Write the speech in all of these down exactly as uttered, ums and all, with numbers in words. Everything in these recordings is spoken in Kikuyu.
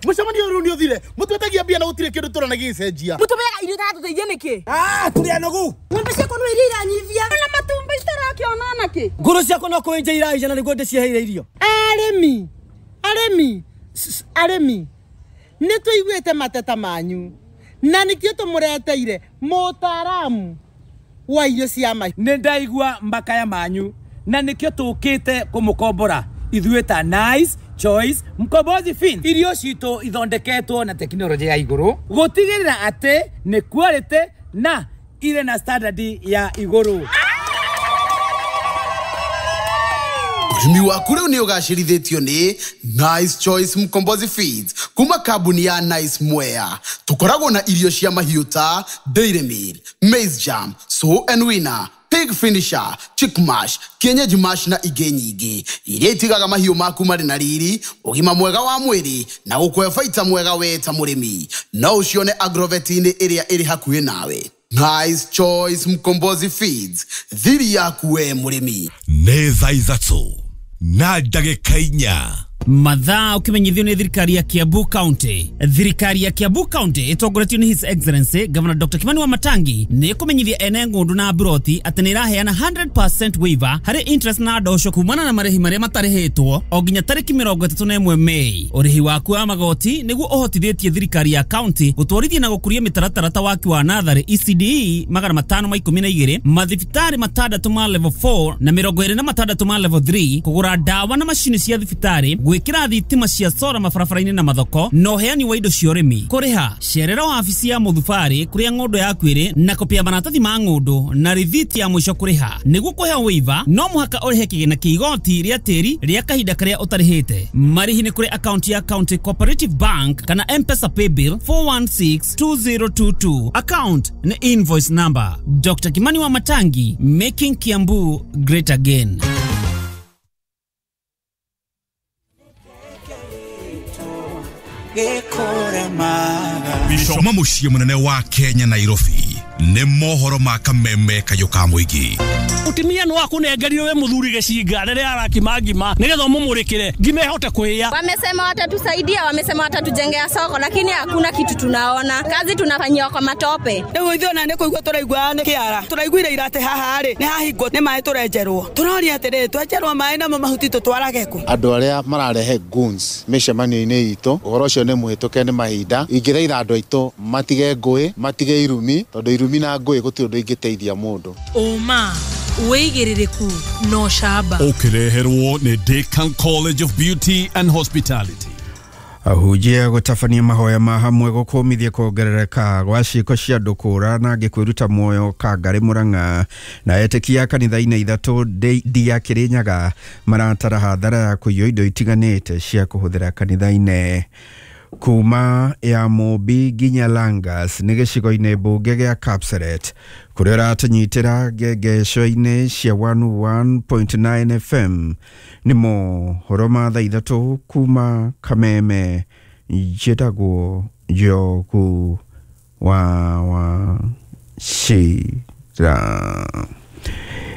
Mucemanio rĩu nĩ ũthire. Mũtwetagia mbia na gũtirĩ kĩndũ tũrona gĩgĩcenjia. Mũtũmeaga irio itatũteithia nĩkĩ? Ah, tũrĩ anogu. Ng'ombe ciakwa no iria iranyivia. Na matumbĩ itarakĩona nakĩ? Ngũrũ ciakwa no kũenja iraija na nĩguo ndĩciheire irio. Arĩmi, arĩmi, arĩmi, nĩ tũiguĩte mateta manyu na nĩkĩo tũmũreteire mũtaaramu wa irio cia mahiũ. Nĩ ndaigua makaya manyu na nĩkĩo tũkĩte kũmũkombora ithuĩ ta Nice Choice Mkombozi Feeds. Irio citũ ithondeketwo na tekinoronjĩ ya igũrũ gũtigĩrĩra atĩ nĩ quality na irĩ na standard ya igũrũ. Ũrĩmi waku rĩu nĩ ũgacĩrithĩtio nĩ Nice Choice Mkombozi Feeds kuma kambuni ya Nice Mwea. Tũkoragwo na irio cia mahiũ ta Dairy Meal, Maize Jam, Sow and Winner, Pig Finisher, Chick Mash, Kienyeji Mash na ingĩ nyingĩ iria itigaga mahiũ maku marĩ na riri, ũgima mwega wa mwĩrĩ na gũkũhe baita mwega we ta mũrĩmi. No ũcione agrovet-inĩ ĩrĩa ĩrĩ hakuhĩ nawe. Nice Choice Mkombozi Feeds, thiri yaku we mũrĩmi. Nĩ thaa ithatũ na ndagĩka inya. Mathaa ukimenyithio nĩ thirikari ya Kiambu County. Thirikari ya Kiambu County ĩtongoretio nĩ His Excellency Governor Doctor Kimani Wamatangi nĩ ĩkũmenyithia ene ng'ũndũ na mburoti atĩ nĩ ĩraheana one hundred percent waiver harĩ interest na ndosho kumana na marĩhi marĩa matarĩhĩtwo o nginya tarĩki mĩrongo ĩtatũ na ĩmwe Mei. Ũrĩhi waku wa magoti nĩguo ũhotithĩtie thirikari ya county gũtwarithia na gũkũria mĩtaratara ta waki wa natharĩ E C D E magana matano ma ikũmi na igĩrĩ, mathibitarĩ matandatũ ma level four na mĩrongo ĩrĩ na matandatũ ma level three, kũgũra ndawa na macini cia thibitarĩ, gwĩkĩra thitima cia sora mabarabara-inĩ na mathoko, na ũheani wa indo cia ũrĩmi. Kũrĩha, cerera wabici ya mũthubarĩ kũrĩa ng'ũndũ yaku ĩrĩ na kopi ya maratathi ma ng'ũndũ na rithiti ya mũico kũrĩha. Nĩguo kũheo waiver no mũhaka ũrĩhe kĩgĩna kĩa igoti rĩa tĩri rĩa kahinda karĩa ũtarĩhĩte. Marĩhi nĩ kũrĩ akaunti ya County Cooperative Bank kana M-Pesa Paybill four one six two zero two two, account nĩ invoice number. Doctor Kimani Wamatangi, making Kiambu great again. Kuma mũciĩ mũnene wa Kenya, Nairobi, nĩ mohoro ma kameme kayũ ka mũingĩ. Mutumia no akunengerire we muthuri gicinga riria arakima ngima nigetha umumurikire ngima ihote kuhia. Wamesema watatusaidia, wamesema watatujengea soko, lakini hakuna kitu tunaona. Kazi tunafanyiwa kwa matope. Rĩu ithuĩ ona nĩ kũigua tũraigua nĩ kĩara tũraiguire ira atĩ haha rĩ nĩ hahingwo nĩ maĩ tũrenjerwo tũroria atĩrĩrĩ twenjerwo maĩ namo mahuti tũtwarage kũ? Andũ arĩa mararehe goons mĩcemanio-inĩ itũ, ũhoro ũcio nĩ mũhĩtũke nĩ mahinda. Ingĩthaitha andũ aitũ matige ngũĩ, matige irumi, tondũ irumi na ngũĩ gũtirĩ ũndũ ingĩteithia mũndũ. Ũma, wĩigĩrĩrĩku na ũcamba. Ũkĩreherwo nĩ Decan College of Beauty and Hospitality. Ahunjia gũtabania mahoya ma hamwe gũkũmithia kuongerereka gwa ciĩko cia andũ kũra na angĩ kwĩruta muoyo Kangarĩ Mũrang'a, na etĩkia kanitha-inĩ ithatũ ndia Kĩrĩnyaga maratara hathara ya kũiywo indo itiganĩte cia kũhũthĩra kanitha-inĩ. Kuma ya Mũmbi nginya Langas nĩ gĩcigo-inĩ mbunge gĩa Kapseret kũrĩa ũratũnyitĩra ngengesho-inĩ cia one oh one point nine F M. Nĩ mohoro ma thaa ithatũ kuma Kameme. Njĩtagwo Njogu wa Wachira.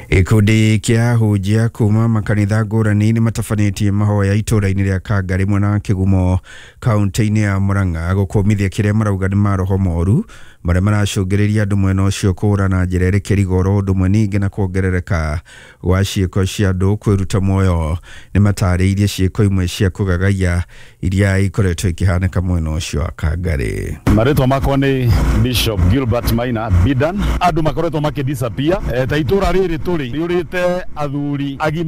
Gĩkundi kĩa ahunjia kuma makanitha ngũrani nĩ matabanĩtie mahoya itũra-inĩ rĩa Kangarĩ mwena wa Kĩgumo kaunti-inĩ ya Murang'a gũkũmithia kĩrĩa marauga nĩ maroho moru marĩa maracũngĩrĩria andũ mwena ũcio kũũra na njĩra ĩrĩ kĩrigo, ũndũ ũmwe ningĩ na kuongerereka gwa ciĩko cia andũ kwĩruta muoyo. Nĩ matarĩirie ciĩko imwe cia kũgagaia iria ikoretwo ikĩhanĩka mwena ũcio wa Kangarĩ. Marĩtwa makwa nĩ Bishop Gilbert Maina Bidan. Andũ makoretwo makĩ disappear e, ta itũra rĩrĩ tũrĩ rĩũrĩte athuri agima.